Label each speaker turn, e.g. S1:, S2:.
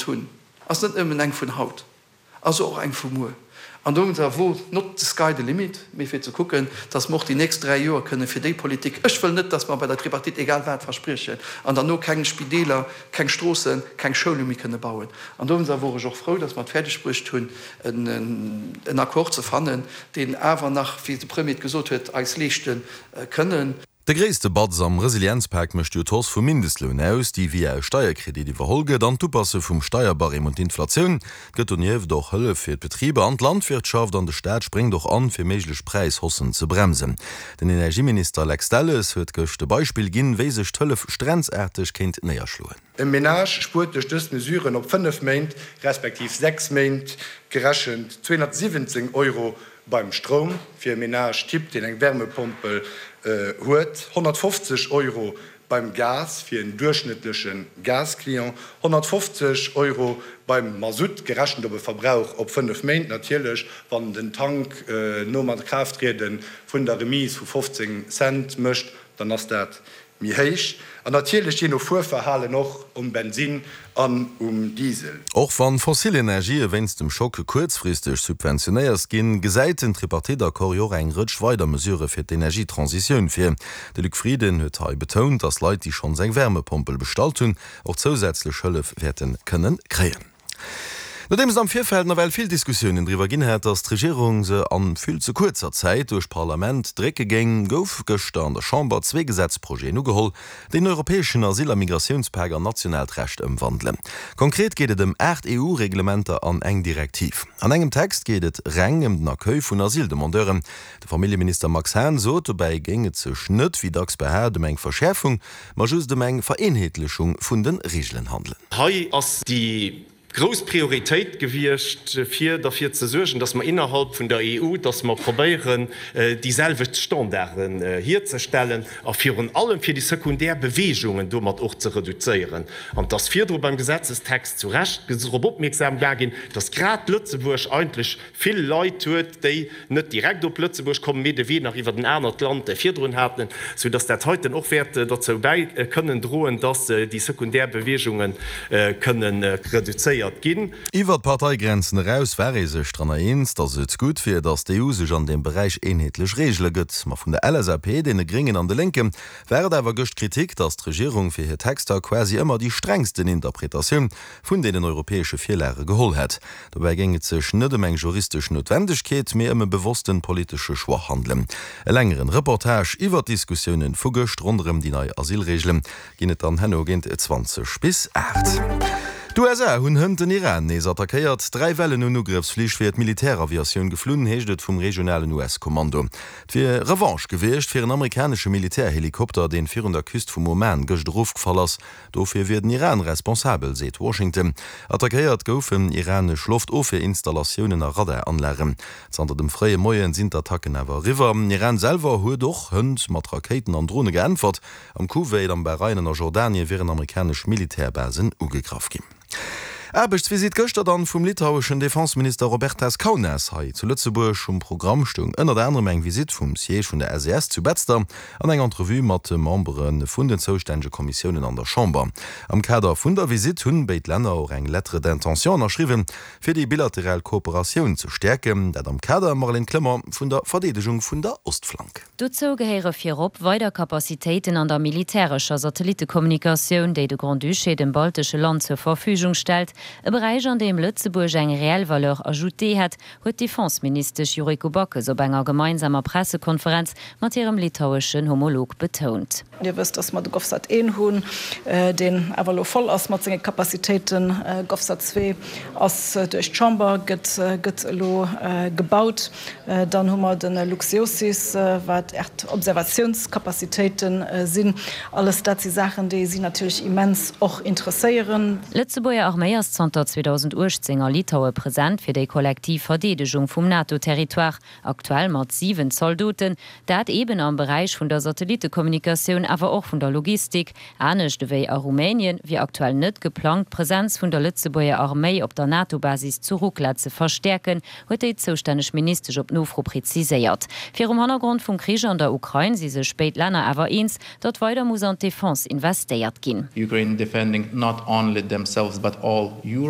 S1: Hunn, ass net nëmmen eng vun haut, ass och eng vu muer. An dowéinster wor not the sky the limit, mee fir ze kucken, dass mer och déi nächst 3 Joer kënne fir déi Politik, ech wëll net, dass mer bei der Tripartite egal wat verspriechen an derno keng Spideeler, keng Stroossen, keng Schoule méi kënne bauen. An dowéinster wor ech och frou, dass mer et fäerdeg bruecht hunn, en Accord ze fannen, deen awer nach, wéi de Premier et gesot huet, eis leeschte kënnen.
S2: De gréisste Batz am Resilienzpak mécht jo d'Hausse vum Mindestloun aus, déi via e Steierkredit iwwerholl gëtt, an d'Upasse vum Steierbarème un d'Inflatioun. Et gëtt donieft och Hëllef fir d'Betriber an d'Landwirtschaft an de Staat spréngt och an, fir méiglech Präishaussen ze bremsen. Den Energieminister Lex Delles huet gëscht e Beispill ginn, wéi sech d'Hëllef strenzaarteg kéint néierschloen.
S3: E Menage spuert duerch dës Mesuren op 5 Méint, respektiv 6 Méint gerechent, 217 Euro Beim Stroum, fir e Menage type, deen eng Wärmepompel huet, 150 Euro, beim Gas, fir en duerchschnëttleche Gasclient, 150 Euro, beim Masutt, gerechent op e Verbrauch op 5 Méint natierlech, wann den Tank nom Akraafttriede vun der Remise vu 15 Cent mécht, dann ass dat méi héich an natierlech jee no Fuerverhalen och um Bensinn an um Diesel.
S2: Och wann fossil Energië wéinst dem Schock kuerzfristeg subventionéiert ginn, gesäit den Tripartite-Accord jo och eng Rëtsch weider Mesurë fir d'Energietransitioun vir. De Luc Frieden huet hei betount, datt Leit, déi schonns eng Wärmepompel bestallt hunn, och zousätzlech Hëllef wäerte kënne kréien. Nodeems et am Virfeld nawell vill Diskussiounen driwwer ginn hat, datt d'Regierung se an vill ze kuerzer Zäit duerch d'Parlament drécke géing, gouf gëschter an der Chamber zwee Gesetzprojeten ugeholl, déi den europäeschen Asyl a Migratiounspak an nationaalt Recht ëmwandelen. Konkret geet et ëm 8 EU-Reglementer an eng Direktiv. An engem Text geet et reng ëm den Accueil vun Asyldemandeuren. De Familljeminister Max Hahn sot, dobäi géing et sech net, wéi dacks behaapt, ëm eng Verschäerfung, ma just ëm eng Vereenheetlechung vun de Reegelen handelen.
S4: Hei ass déi grouss Prioritéit gewiescht, fir derfir ze suergen, dass mer innerhalb vun der EU, dass mer probéieren, déi selwecht Standarden hierzestellen a virun allem fir déi sekundär Bewegungen domat och ze reduzéieren. An et ass virdru beim Gesetzestext zu Recht drop opmierksam gemaach ginn, dass grad Lëtzebuerg eigentlech vill Leit huet, déi net direkt op Lëtzebuerg kommen, mee de Wee nach iwwert en anert Land virdrun haten, sou dass dat heiten och wäert dozou bäi kënnen droen, dass déi sekundär Beweegunge kënnen reduzéiert ginn.
S2: Iwwer d'Parteigrenzen eraus war ee sech dranner eens, dass et gutt wier, dass d'EU sech an deem Beräich eenheetlech Reegele gëtt. Ma vun der LSAP, deene Gréngen an de Lénke war et awer gëscht d'Kritik, dass d'Regierung fir hir Texter quasi ëmmer déi strengsten Interpretatioun vun deenen europäesche Virlage geholl hätt. Dobäi géing et sech net ëm eng juristesch Noutwendegkeet, mee ëm e bewossten politesche Choix handelen. E längeren Reportage iwwer d'Diskussiounen vu gëscht ronderëm déi nei Asylreegelen ginn et dann herno géint 20 bis 8. D'USA hunn hënt den Iran nees attackéiert. Dräi Wellen un Ugrëffsflich wier d'Militäraviatioun geflunn, heescht et vum regionalen US-Kommando. Et wier Revanche gewiescht fir en amerikanesche Militärhelikopter, deen virun der Küst vum Oman gëscht erofgefall ass. Dofir wier den Iran responsabel, seet Washington. Attackéiert goufen iranesch Loftofwierinstallatiounen a Radaranlagen. Zanter dem fréie Moie sinn d'Attacken awer eriwwer. Iran selwer huet och hënt mat Rakéiten an Drone geäntwert. Am Kuwait, am Bahrain an a Jordanien wieren amerikanesch Militärbasen ugegraff ginn. Aarbechtsvisitt gëschter dann vum litaueschen Defenseminister Robertas Kaunas hei zu Lëtzebuerg. Um Programm stoung ënnert anerem eng Visitt vum Siège vun der SES zu Betzder an eng Entrevue mat de Membere vun den zoustännege Kommissiounen an der Chamber. Am Kader vun der Visitt hunn béid Länner och eng Lettre d'intention ënnerschriwwen, fir déi bilateral Kooperatioun ze stäerken. Dat am Kader, Marlène Clement, vun der Verdeedegung vun der Ostflank.
S5: Dozou gehéiere virop weider Capacitéiten an der militärescher Satellittekommunikatioun, déi de Grand-Duché dem baltesche Land zur Verfügung stellt, e Beräich an deem Lëtzebuerg eng reell Valeur ajoutée hätt, huet d'Defenseministesch Yuriko Backes op enger gemeinsamer Pressekonferenz mat hirem litaueschen Homolog betount.
S6: Dir wësst, dass mer de GovSat I hunn, deen awer elo voll ass mat senge Capacitéiten. GovSat ii ass duerch d'Chamber, gëtt gëtt elo gebaut. Dann hu mer de LuxGeoSys, wat Äerdobservatiounscapacitéite sinn. Alles dat si Saachen, déi si natierlech immens och interesséieren.
S5: D'Lëtzebuerger Arméi ass zanter 2018 a Litaue present fir déi kollektiv Verdeedegung vum NATO-Territoire. Aktuell mat 7 Zaldoten, dat eben am Beräich vun der Satellittekommunikatioun, awer och vun der Logistik. Anescht ewéi a Rumänien wier aktuell net geplangt, d'Presenz vun der Lëtzebuerger Arméi op der NATO-Basis zu Rukla ze verstäerken, huet déi zoustänneg Ministesch op Nofro preziséiert. Virum Hannergrond vum Krich an der Ukrain si sech béid Länner awer eens, datt weider muss an d'Defense investéiert ginn.
S7: Ukraine defending not only themselves but all Europe.